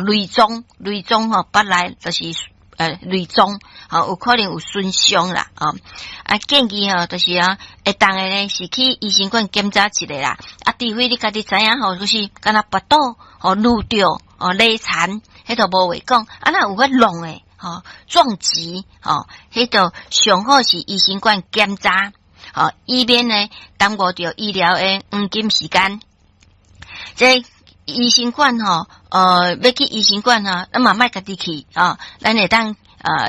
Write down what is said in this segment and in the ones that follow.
內臟內臟吼，腹內就是內臟吼，有可能有損傷啦，哦，啊建議吼，就是啊，會當的呢是去醫生館檢查一下啦，啊，除非你家己知影吼，就是敢若腹肚吼挼著哦勒殘，彼就無話講，啊若有彼弄的吼撞擊吼，彼就上好是醫生館檢查，吼，以免呢耽誤著醫療的黃金時間。這醫生館吼，欲去醫生館吼，咱嘛莫家己去哦，咱會當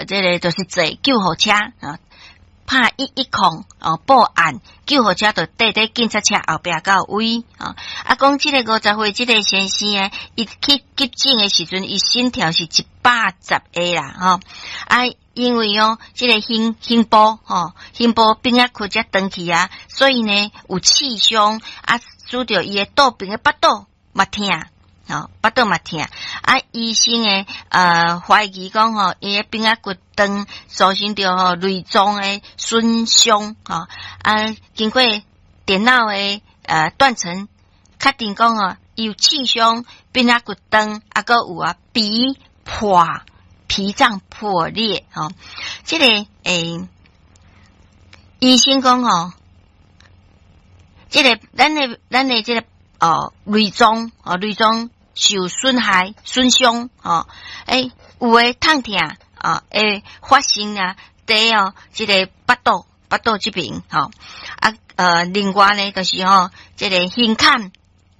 這个就是坐救護車啊，拍110哦報案，救護車就綴佇警察車後壁到位啊。啊，講這个50歲這个先生呢，伊去急診的時陣，伊心跳是110下啦，吼啊，因為哦，這个胸部吼，胸部邊仔骨才斷去啊，所以呢有刺傷啊，使著伊的肚邊的腹肚嘛疼，吼，腹肚嘛疼。啊，醫生的懷疑講吼，伊的邊仔骨斷，造成著吼內臟的損傷，吼啊，經過電腦的斷層確定講吼，伊有刺傷，邊仔骨斷，啊，閣有啊脾破，脾臟破裂，吼，這个醫生講吼，這个咱的這个內臟哦，內臟受損害、損傷哦，有的痛疼啊，會發生啊，佇哦，這个腹肚這邊吼啊，另外呢，就是吼，這个胸坎、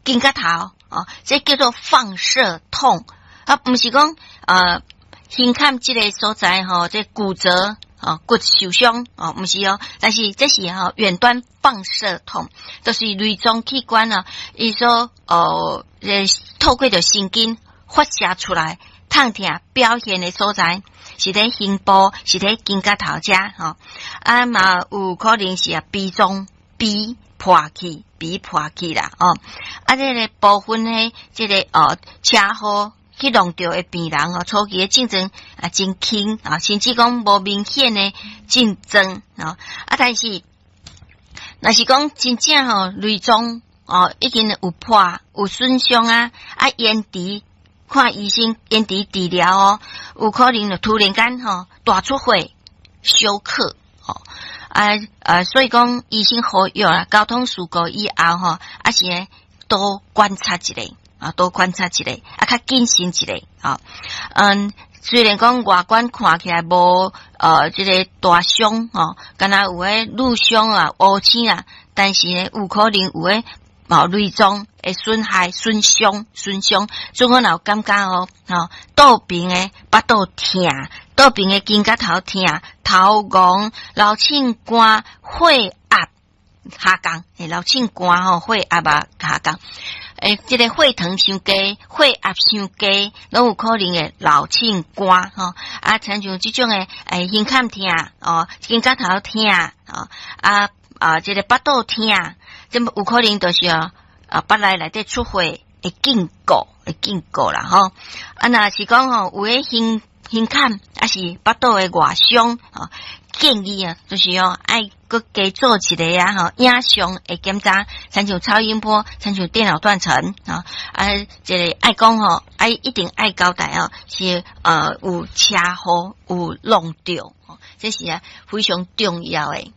肩胛頭哦，這叫做放射痛啊，毋是講胸坎這个所在吼，這骨折。哦，骨受傷哦，毋是哦，但是這是吼遠端放射痛，就是內臟器官啊，伊所透過著神經發射出來痛疼表現的所在，是佇胸部，是佇肩胛頭遮吼，啊嘛有可能是啊脾臟脾破去，脾破去啦哦，啊這个部分呢，這个車禍去弄著的病人哦，初期的症狀啊真輕啊，甚至講無明顯的症狀啊，啊但是若是講真正吼內臟哦已經有破有損傷啊，啊延遲看醫生延遲治療哦，有可能就突然間吼大出血休克吼啊啊，所以講醫生呼籲啦，交通事故以後吼，啊是多觀察一下。啊，多觀察一下，啊，較謹慎一下，啊，雖然講外觀看起來無這个大傷吼，敢若有的瘀傷啊、烏青啊，但是呢，有可能有的哦內臟會損害、損傷、損傷，總講若有感覺哦，吼，肚邊的腹肚疼，肚邊的肩胛頭疼、頭戇、流凊汗、血壓下降，流凊汗吼，血壓啊下降。這个血糖傷低，血壓傷低，攏有可能會流凊汗吼。啊，親像這種的，胸坎疼哦，肩胛頭疼哦，啊啊，這个腹肚疼，這有可能就是啊，腹內內底出血會警告，會警告啦吼。啊，若是講吼，有的胸坎，抑是腹肚的外傷吼，建議啊，就是哦，愛閣加做一个啊吼，影像的檢查，親像超音波，親像電腦斷層啊，啊，這个愛講吼，愛一定愛交代哦，是有車禍有弄著，這是啊非常重要的。